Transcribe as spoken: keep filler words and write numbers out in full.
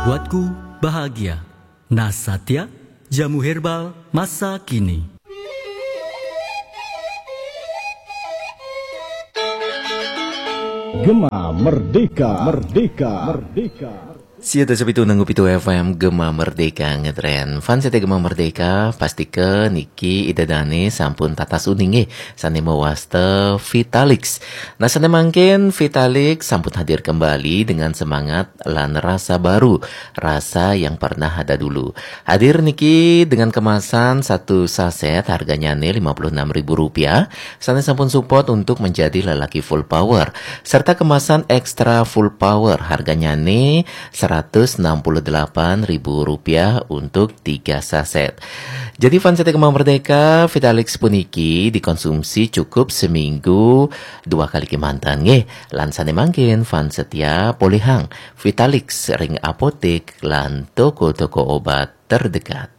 Buatku bahagia. Nasatya, jamu herbal masa kini. Gema Merdeka, Merdeka, Merdeka. Sia dasa pitu nanggu pitu F M Gema Merdeka ngetren. Fans setia Gema Merdeka, pastika niki Ida Dane sampun tatas uninge sane mawasta Vitalix. Nah, sane mangkin Vitalix sampun hadir kembali dengan semangat lan rasa baru, rasa yang pernah ada dulu. Hadir niki dengan kemasan satu saset harganya ne lima puluh enam ribu rupiah, sane sampun support untuk menjadi lelaki full power, serta kemasan extra full power harganya ne seratus enam puluh delapan ribu rupiah untuk tiga saset. Jadi fans setia Gema Merdeka, Vitalix puniki dikonsumsi cukup seminggu dua kali kemanten nggih. Lan sane mangkin fans setia polihang Vitalix ring apotek lan toko-toko obat terdekat.